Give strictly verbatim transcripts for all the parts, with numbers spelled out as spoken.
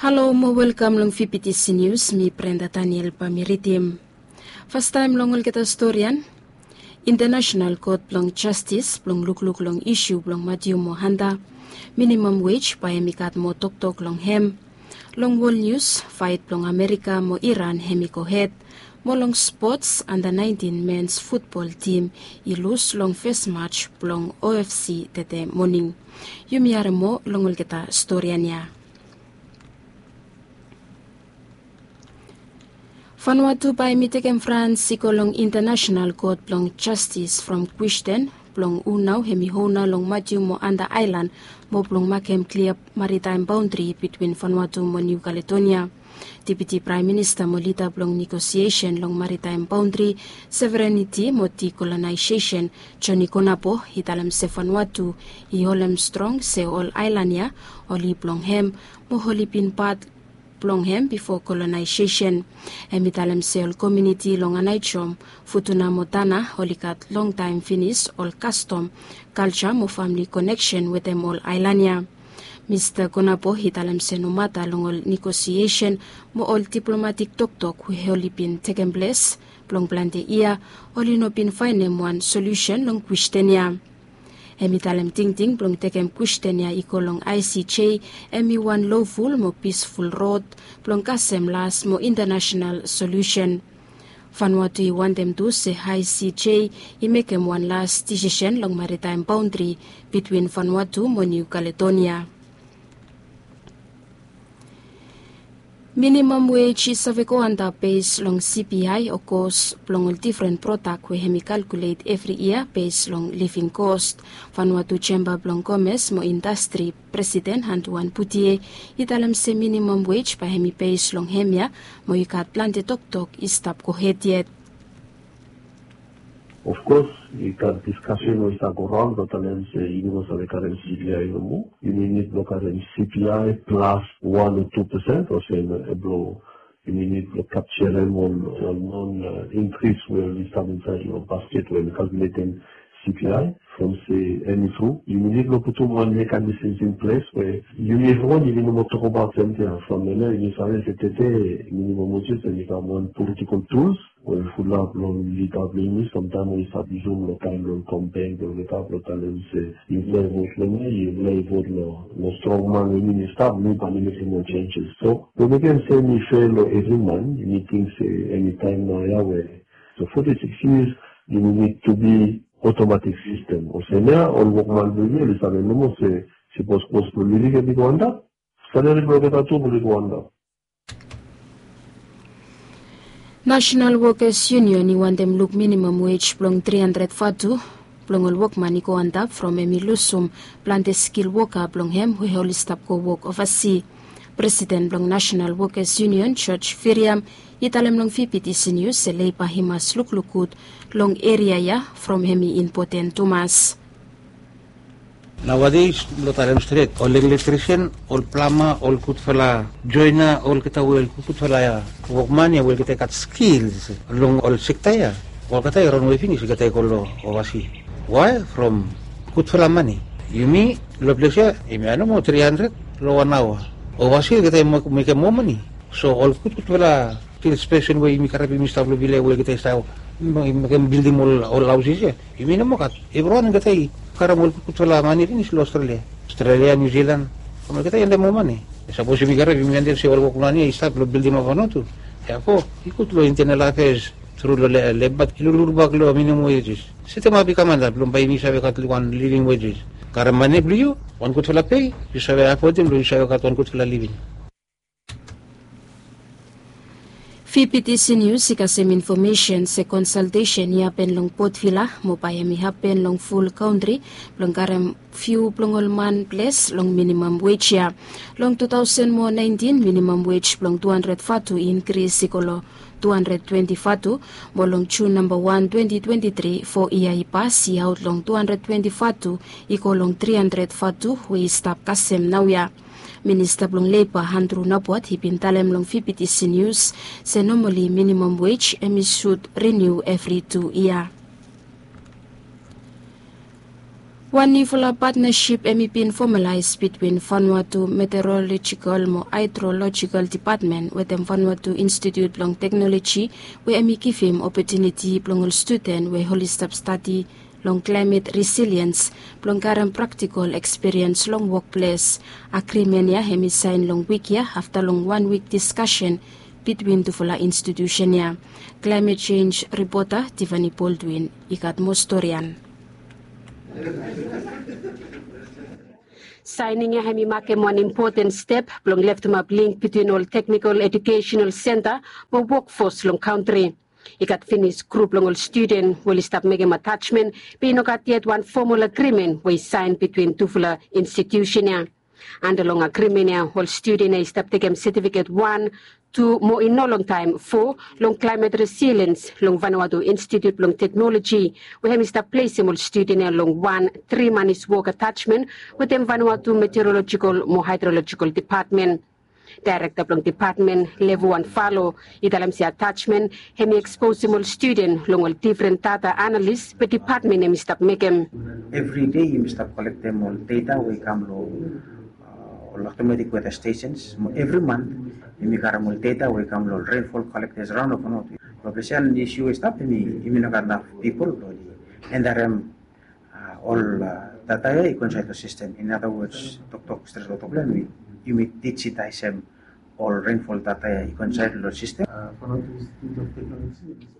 Halo mo welkam long V P T C News, mi Brenda Daniel bae mi ridim. Fastaem long olgeta storian, International Kot blong Jastis blong lukluk long isu blong Matiu mo Hanta, minimam wej bae hemi gat moa toktok long hem. Long wol nius, faet blong Amerika mo Iran hemi gohed. Mo long spots, anda naentin mens futbol tim i lus long fes maj blong O F C tede moning. Yumi harem moa long olgeta storian ya. Vanuatu bae hemi tekem frans i go long International Kot blong Jastis from kwestin blong hu nao hemi ona long Matiu mo Hanta aelan, mo blong makem klia maritaem baondri bitwin Vanuatu mo Niu Kaledonia. Deputi Praem Minista mo lida blong negosiesen long maritaem baondri, sovereniti mo dikolonaiseisen, Joni Konapo i talem se Vanuatu i holem strong se ol aelan ya oli blong hem, mo oli bin pat blong hem bifo kolonaiseisen. Hemi talem se ol komuniti long Anaijom, Futuna mo Tana oli gat longtaem finis ol kastom, kalja mo famle koneksen wetem ol aelan ya. Mista Konapo i talem se nomata long ol negosiesen mo ol diplomatik toktok we oli bin tekem ples blong plante yia, oli no bin faenem wan solusen long kwestin ya. Hemi talem tingting blong tekem kwestin ya i go long I C J hemi wan loful mo pisful rod blong kasem las mo intanasenal solusen. Vanuatu i wantem tu se I C J i mekem wan las disisen long maritaem baondri bitwin Vanuatu mo Niu Kaledonia. Minimam wej i save go antap bes long C P I o kos blong ol difren prodak we hemi kalkulet evri yia bes long living kos. Vanuatu Jemba blong Komes mo Indastri presiden Hantuan Putie i talem se minimam wej bae hemi bes long hemia, mo i gat plante toktok i stap gohed yet. Of kos i gat diskasen we i stap go raon blong talem se yumi no save karem C P I nomo. Yumi nid blong karem C P I plas wan o tu pesen olsem blong yumi nid blong kapserem ol non inkris we oli stap insaed long basket we oli kalkuletem C P I. From se hemi tru yumi nid blong putum wan mekanisms in ples we yumi evriwan yumi no moa tokbaot samting ya from hemia yumi save se tede minimam wej hemi kam wan politikol tuls we fulap long lida blong yumi samtaem we i stap yusum long taem blong komplaen blong olgeta blong talem se yufala i vot long mi, yufala i vot long strong man we mi mi stap, mi bae mi mekem ol senses. So we mekem se mi fel long evri man, mi ting se enitaem naoia we so foti sikis yias yumi nid tu bi otomatik sistem olsem ya ol wokman blong yumi oli save nomo se sipos kos blong living hemi go antap, salari blong olgeta tu blong i go antap. Nasenal Wokas Yunion i wantem luk minimam wej blong tri handred vatu blong ol wokman i go antap from hemi lusum plante skil woka blong hem we oli stap go wok ovasi. Presiden blong Nasenal Wokas Yunion George Firiam i talem long V P T C Nius se leba i mas lukluk gud long eria ya from hemi impoten tumas. Naoades blong talem stret ol elektrisen, ol plama, ol gudfala joena, olgeta we ol gudfala wokman ya we olgeta i gat skils long ol sekta ya, olgeta i ranwe finis olgeta i go long ovasi. Wae? From gudfala mane. Yumi long ples ya yumi ya nomo tri handred long wan aoa. Ovasi olgeta i mekem moa mane. So ol gudgudfala stil spesen we yumi karem yumi stap long vila we olgeta i stap mekem bildim ol haosis ya. Yumi no moa gat. Evriwan olgeta i karem ol gudgudfala mane finis long Australia, Australia, New Zealand. From olgeta i wantem moa mane. Sapos yumi karem yumi wantem se ol wokman ya i stap long bildim ap Vanuatu. Therefore i gud long internal affairs tru long leba i lukluk bak long minimum wages. Setemap i kam antap blong bae yumi save gat wan living wages. Karem mane blong yu, wan gudfala pei, yu save afodim blong yu save gat wan gudfala living. V P T C Nius i kasem infomesen se konsaltesen i hapen long Port Vila mo bae hemi hapen long ful kantri blong karem fiu blong ol man ples long minimam wej ya. Long tu taosen mo naentin minimam wej blong tu handred vatu i inkris i go long tu handred twenti vatu, mo long Jun namba wan twenti twenti tri fo yia i pas i aot long tu handred twenti vatu i go long tri handred vatu we i stap kasem naoia. Minista blong Leba Andrew Nabwat i bin talem long V P T C Nius se nomali minimam wej hemi sud riniu evri tu yia. Wan niufala patnasip hem i bin fomalaes bitwin Vanuatu Meteorological mo Hydrological Dipatmen wetem Vanuatu Institut blong Teknoloji, we hem i givim opotuniti blong ol studen we oli stap stadi long klaemet resiliens blong karem praktikol ekspiriens long wokples. Agrimen ya hem i saen long wik ya afta long wan wik diskasen bitwin tufala institusen ya. Klaemet Jenj ripota Tivani Boldwin i gat moa storian. Saening ya hem i makem wan impoten step blong leftemap link bitwin ol teknikol ejukesenal senta mo wokfos long kantri. I gat finis grup blong ol studen we oli stap mekem atajmen, be i no gat yet wan fomol agrimen we i saen bitwin tufala institusen ya. Anda long agrimen ya ol studen ya i stap tekem setifiket wan, tu mo i no longtaem fo long klaemet resiliens long Vanuatu Institut blong Teknoloji, we hem i stap plesem ol studen ya long wan tri manis wok atajmen wetem Vanuatu Meteorological mo Hydrological Dipatmen. Daerekta blong dipatmen Levu Anfalo i talem se atajmen hem i eksposem ol studen long ol difren data analis we dipatmen hem i stap mekem. Evri dei yumi stap kolektem ol data we i kam long ol automatic weather stations. Evri mant yumi karem ol data we i kam long ol rainfall collectors raon of not. Long ples ya ol isu we i stap yumi no gat naf pipol blong entarem ol data ya i go insaed long sistem. In other words, toktok stret long toktok blong yumi, yumi dijitaesem ol rainfall data ya i go insaed long sistem.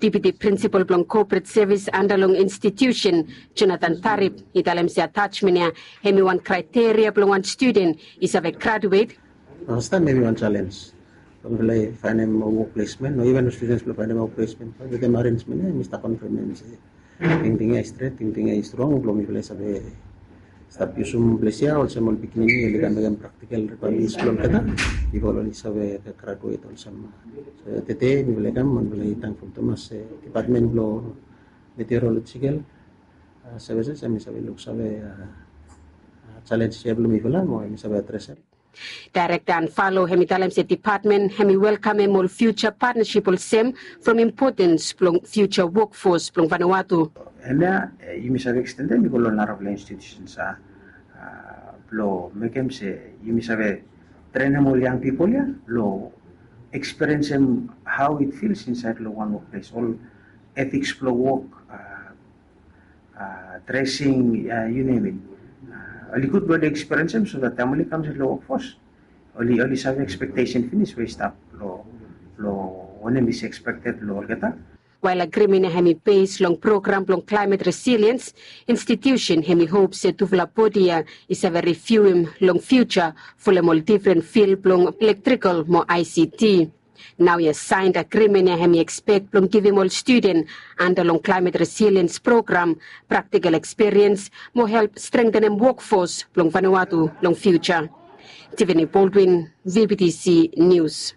Deputi prinsipal blong kopret sevis anda long institusen, Jonathan Tarip, i talem se atajmen ya hem i wan kraeteria blong wan studen i save graduet. Fastam hem i wan jalenj blong mifala i faenem wok plesmen o iven studens blong faenem wok plesmen. Wetem arenjmen ya mifala konfirm se tingting ya i stret, tingting ya i strong blong mifala i save stap yusum ples ya olsem ol pikinini oli kam mekem praktikal rikwaemens blong olgeta bifo oli save graduet olsem. So tede mifala i kam mifala i tangful tumas se dipatmen blong meteorolojikal sevises hem i save luksave jalenj ya blong mifala mo hem i save adresem. Daerekta Anfalo hem i talem se dipatmen hem i welkamem ol fiuja patnasip olsem from impotens blong fiuja wokfos blong Vanuatu. Hemia yumi save ekstendem i go long narafala institusens blong mekem se yumi save trenem ol yang pipol ya blong ekspiriensem hao it fils insaed long wan wokples, ol etiks blong wok, dresing, yu nem it. Oli gud blong oli ekspiriensem so dat taem oli kam insaed long wokfos oli, oli save ekspektesen finis we i stap long, long wanem i ekspekted long olgeta. Wael agrimen ya hem i bes long program blong klaemet resiliens, institusen hem i hop se tufala bodi ya i save riviuem long fiuja folem ol difren fil blong elektrikal mo ICT. Naoia saen agrimen ya hem i ekspek blong givim ol studen anda long klaemet resiliens program praktikal ekspiriens mo help strengtenem wokfos blong Vanuatu long fiuja. Tiffany Baldwin, VBTC Nius.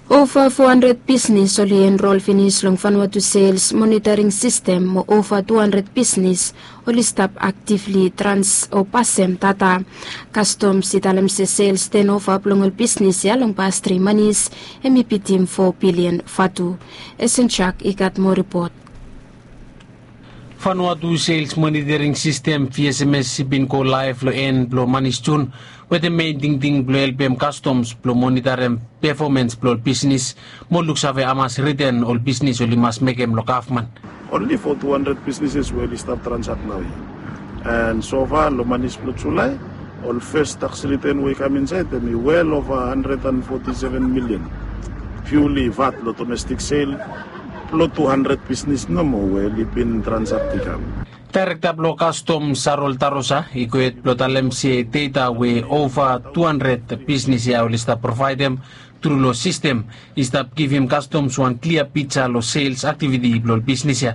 Ova fo handred bisnis oli enrol finis long Vanuatu sels monitoring sistem mo ova tu handred bisnis oli stap aktivli trans o pasem data. Kastoms i talem se sels tenova blong ol bisnis ya long pas tri manis hem i bitim fo bilian vatu. Esenjak i gat moa ripot. Vanuatu sels monitoring sistem, VSMS, i bin go laef long en blong manis Jun wetem mein tingting blong helpem kastoms blong monitarem pefomens blong ol bisnis mo luksave hamas riten ol bisnis oli mas mekem long gavman. Onli fo tu handred bisnises we oli stap transak naoia. And so far long manis blong Julae ol fes taks riten we i kam insaed hem i wel ova handred and foti seven milian. Piuli vat long domestik sel blong tu handred bisnis nomo we oli bin transak i kam. Daerekta blong kastom Sarol Tarosa i gohed blong talem se data we ova tu handred bisnis ya oli stap provaedem tru long sistem i stap givim kastoms wan klia pija long sels aktiviti blong ol bisnis ya.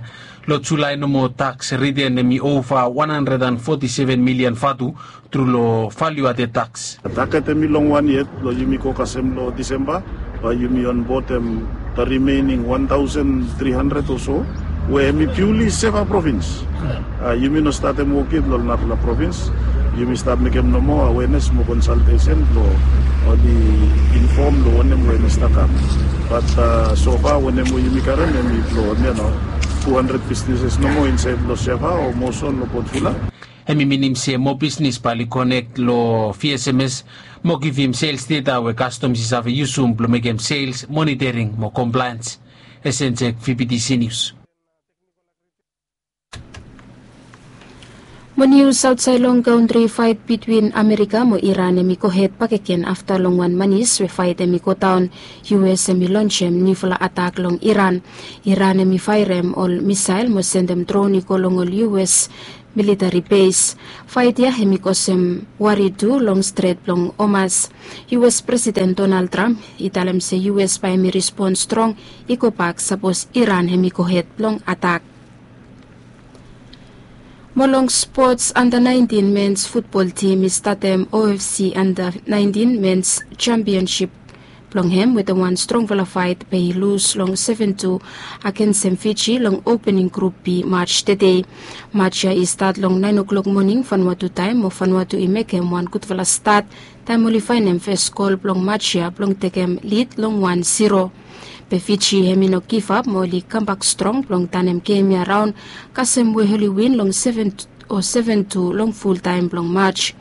Long Julae nomo taks riten hem i ova wan handred and foti seven milian vatu tru long valiu aded taks. Taget hem i long wan yet blong yumi go kasem long Disemba bae yumi onbodem the remaining wan taosen tri handred o so we hem i piuli seva provins. Yumi no statem wok yet long narafala provins. Yumi stap mekem nomo awenes mo konsaltesen blong oli infom long wanem we hem i stap kam. Bat so far wanem we yumi karem hem i blong hemia nao. Tu handred bisneses nomo insaed long Siafa o Moson long Potfula. Hem i minim se moa bisnes bae oli konek long V S M S mo givim sales data we kastoms i save yusum blong mekem sales monitoring mo compliance. Esensek V P T C News. Mo nius aotsaed long kantri, faet bitwin Amerika mo Iran hem i gohed bakegen afta long wan manis we faet hem i godaon. U S hem i lonsem niufala atak long Iran. Iran hem i faerem ol misael mo sendem dron i go long ol U S militari bes. Faet ya hem i kosem wari tu long stret blong Hormuz. U S Presiden Donald Trump i talem se U S bae hem i respon strong i gobak sapos Iran hem i gohed blong atak. Mo long spots, anda naentin mens futbol tim i statem O F C anda naentin mens jampionsip blong hem wetem wan strongfala faet be i lus long seven tu agensem Fiji long opening grup B maj tede. Maj ya i stat long naen oklok moning Vanuatu taem mo Vanuatu i mekem wan gudfala stat taem oli faenem fes gol blong maj ya blong tekem lid long wan zero. Be Fiji hem i no givap mo oli kambak strong blong tanem gem ya raon kasem we oli win long seven o seven tu long fultaem blong maj.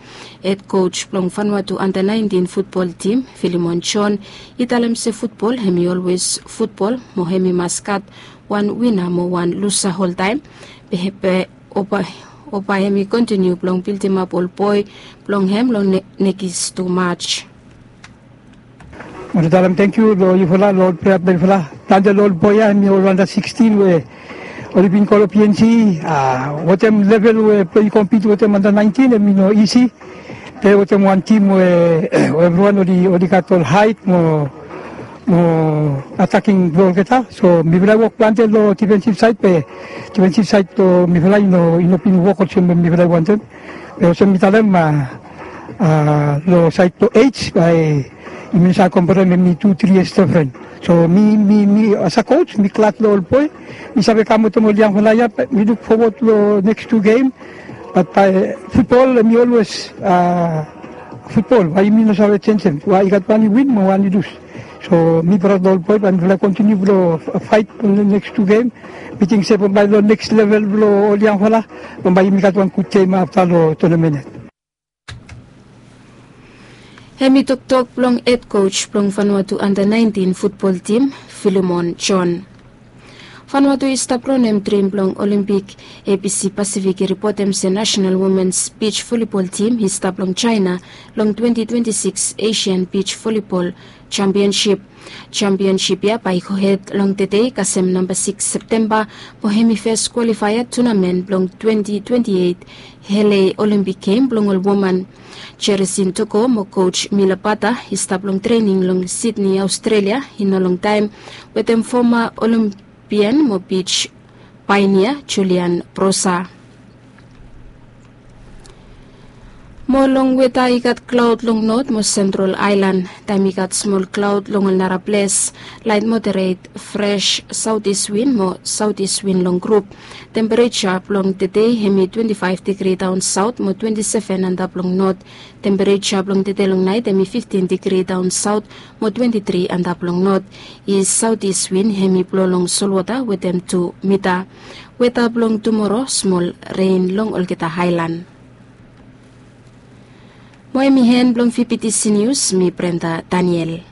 Hed koj blong Vanuatu anda naentin futbol tim, Filimon John, i talem se futbol hem i olwes futbol mo hem i mas gat wan wina mo wan lusa oltaem. Be, be oba, oba hem i kontiniu blong bildimap ol boe blong hem long ne-, nekis tu maj. Mo talem tangkiu long yufala long ol plea blong yufala. Plante long ol boe ya hem i ol anda sikstin we oli bin go long P N C, a, wetem level we blong i kompit wetem anda naentin hem i no isi. Plei wetem wan tim we, we evriwan oli, oli gat ol haet mo, mo ataking blong olgeta. So mifala i wok plante long difensif saed be difensif saed blong mifala i no, i no bin wok olsem we mifala i wantem. Be olsem mi talem, a, a, long saed blong ej bae yumi no save komperem hem i tu tri yias difren. So mi, mi, mi as a koj mi glad long ol boe. Mi save kam wetem ol yangfala ya, be mi luk fowod long neks tu gem. Bat bae futbol hem i olwes, a, futbol, bae yumi no save jenjem. Bae i gat wan i win mo wan i lus. So mi praod long ol boe, bae mifala kontiniu blong faet long neks tu gem. Mi ting se bambae long neks level blong ol yangfala, bambae yumi gat wan gud gem afta long tonamen ya. Hem i toktok blong hed koj blong Vanuatu anda naentin futbol tim, Filimon John. Vanuatu i stap raonem drim blong Olimpik. A B C Pasifik i ripotem se Nasenal Womens Bij Volibol Tim i stap long Jaena long twenti twenti sikis Asian Bij Volibol Jampionsip. Jampionsip ya bae i gohed long tede kasem namba sikis Septemba, mo hem i fes kwalifaea tunamen blong twenti twenti eit L A Olimpik Gem blong ol woman. Jeresin Toko mo koj Mila Bata i stap long trening long Sidni, Aostrelia i no longtaem wetem foma Olimpian mo bij paenea Julian Brosa. Mo long weta, i gat klaod long not mo sentral aelan, taem i gat smol klaod long ol nara ples, laet moderet fres saotis win mo saotis win long grup. Tempereja blong tede hem i twenti faef digri daon saot mo twenti seven antap long not. Tempereja blong tede long naet hem i fiftin digri daon saot mo twenti tri antap long not. I saotis win hem i blo long solwota wetem tu mita. Weta blong tumoro, smol ren long olgeta aelan. Mo hem i en blong V P T C Nius, mi Brenda Daniel.